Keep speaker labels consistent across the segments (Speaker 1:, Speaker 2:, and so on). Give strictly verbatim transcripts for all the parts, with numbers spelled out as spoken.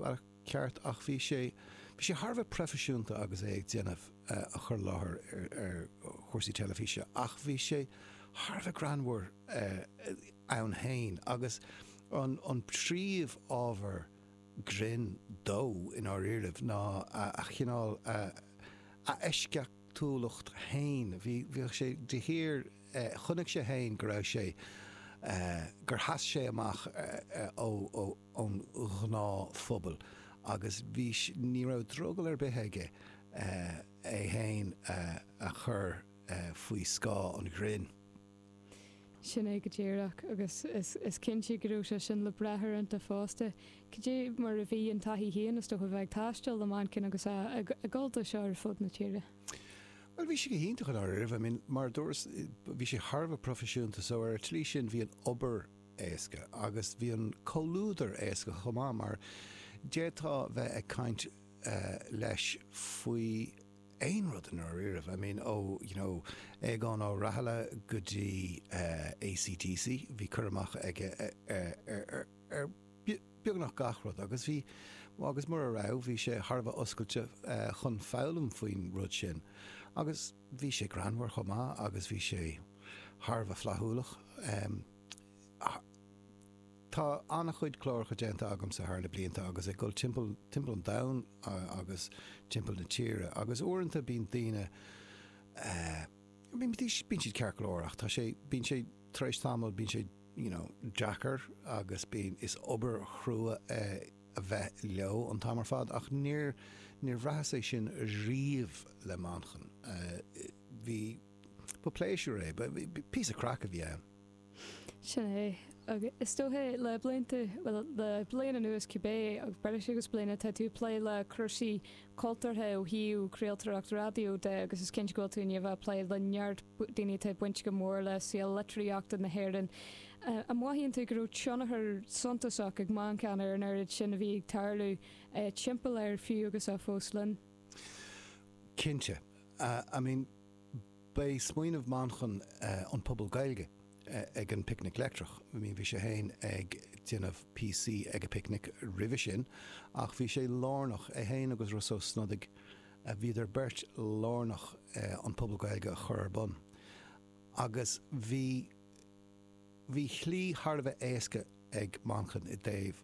Speaker 1: bealach ceart ach bhí sé bhí sé thar a bheith proifisiúnta agus é ag déanamh a chur i láthair ar ar chúrsaí teilifíse ach bhí sé thar a bheith greannmhar ann féin agus an an príomhábhar grinn dó i ndáiríribh ná a chineál a eisceachtúlacht féin. Bhí bhíodh sé de shíor chonaic sé féin go raibh sé gur sheas sé amach ó ón ghnáthphobal agus bhí ní raibh drogall ar bith aige é féin a chur faoi scáth an ghrinn.
Speaker 2: Sin é go díreach agus is cinnte go raibh sé sin le brath iontu fosta. Cad é mar a bhí an taithí féin is dócha bheith ag taisteal le Manchán agus ag dul dó seo ar fud na tíre.
Speaker 1: Well bhí sé go hiontach i ndáiríribh, I mean mar a dúras bhí sé thar a bheith proifisiúnta so ar an tslí sin bhí an obair éasca agus bhí an comhluadar éasca chomh maith mar d'fhéadfá bheith ag caint leis faoi aon rud i ndáiríribh. I mean ó you know Aogán Ó Rathaille go dtí ACDC bhí cur amach aige ar ar beagnach gach rud agus bhí agus mura raibh bhí sé thar a bheith oscailte chun foghlaim faoin rud sin. Agus bhí sé greannmhar chomh maith agus bhí sé thar a bheith flaithiúlach. Tá an-chuid cláracha déanta agamsa thar na blianta agus ag dul timpeall timpeall an domhain agus timpeall na tíre agus uaireanta bíonn daoine bíonn bíonn siad ceart go leor ach tá sé bíonn sé tar éis tamaill bíonn sé you know deacair agus bíonn is obair chrua é a bheith leo an t-am ar fad ach níor níor bhraitheas é sin riamh le Manchán. Bhí ba pléisiúr é, ba píosa craic a bhí ann.
Speaker 2: Sin é. Agus is dócha le blianta, bhuel le bliain anuas cibé, agus breis agus bliain, tá tú ag plé le cúrsaí cultúrtha ó thaobh craoltóireacht raidió de agus is cinnte go bhfuil tú i ndiaidh a bheith ag plé le neart daoine atá bainte go mór le saol litríochta na hÉireann. An mothaíonn tú go raibh tionchar suntasach ag Manchán ar an oiread sin a bhí ag tarlú timpeall air fiú agus é fós linn?
Speaker 1: Cinnte. I mean, b'é smaoineamh Manchán an Puball Gaeilge ag an bPicnic Leictreach. I mean, bhí sé féin ag déanamh píosaí ag an bPicnic roimhe sin ach bhí sé lárnach, é féin agus Rossa Ó Snodaigh, bhíodar beirt lárnach an Puball Gaeilge a chur ar bun. Agus bhí, bhí slí thar a bheith éasca ag Manchán i dtaobh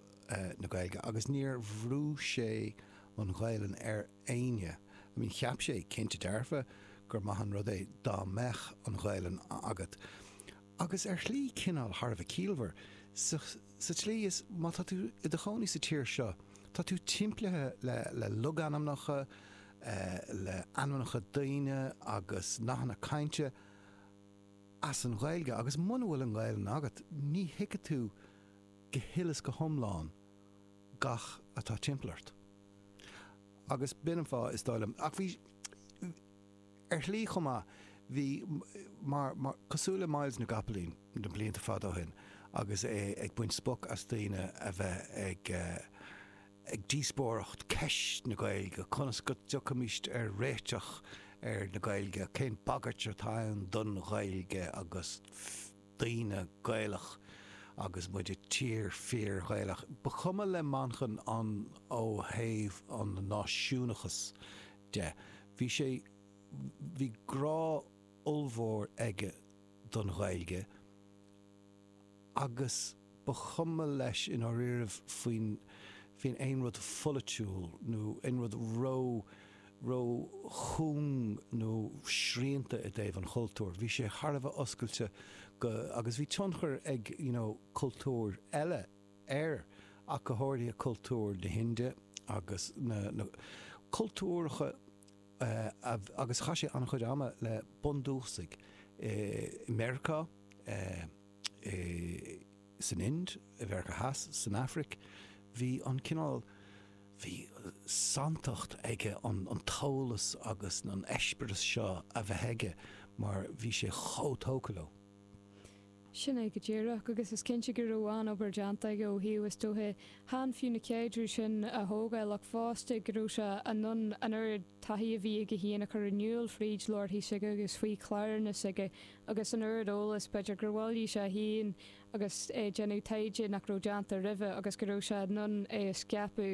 Speaker 1: na Gaeilge agus níor bhrú sé an Ghaelainn ar éinne. I mean, cheap sé, cinnte dearfa, gur maith an rud é dá mbeadh an Ghaelainn agat. Agus ar shlí cineál thar a bheith ciallmhar, sa sa tslí is má tá tú i do chónaí sa tír seo, tá tú timplithe le le logainmneacha, le ainmneacha daoine agus nathanna cainte as an Ghaeilge agus muna bhfuil an Ghaelainn agat, ní thuigfidh tú go huile is go hiomlán gach atá timpeall ort. Agus b'in an fáth, is dóigh liom. Ach bhí, ar shlí chomh maith, bhí, mar, mar, cosúil le Myles na gCopaleen na blianta fada ó shin agus é ag baint spoch as daoine a bheith ag, ag díospóireacht ceist na Gaeilge, conas go dtiocfaimis ar réiteach ar na Gaeilge, cén bagairt atá ann don Ghaeilge agus daoine Gaelach agus muid i tír fíor-Ghaelach. Ba chuma le Manchán an ó thaobh an náisiúnachas de. Bhí sé, bhí grá ollmhór aige don Ghaeilge agus ba chuma leis i ndáiríribh faoin, faoin aon rud pholaitiúil nó aon rud ró, ró-chúng nó srianta i dtaobh an chultúir. Bhí sé thar a bheith oscailte go, agus bhí tionchar ag you know cultúir eile air ach go háirithe cultúr na hInde agus na, na cultúracha agus chaith sé an-chuid ama le bundúchasaigh i Meiriceá, i san Ind, i Mheiriceá Theas, san Afraic. Bhí an cineál, bhí santacht aige an an t-eolas agus an eispéireas seo a bheith aige mar bhí sé chomh tógtha leo.
Speaker 2: Sin é go díreach, agus is cinnte go raibh an-obair déanta aige ó thaobh, is dóiche, chan fiú na caidrimh sin a thógáil ach fosta go raibh sé in ann an oiread taithí a bhí aige féin a chur in iúl fríd leabharthaí s'aige agus faoi chláranna s'aige agus an oiread eolas b'fhéidir gur bhailigh sé féin agus é ag déanamh taighde nach raibh déanta roimhe agus go raibh sé in ann é a scaipeadh.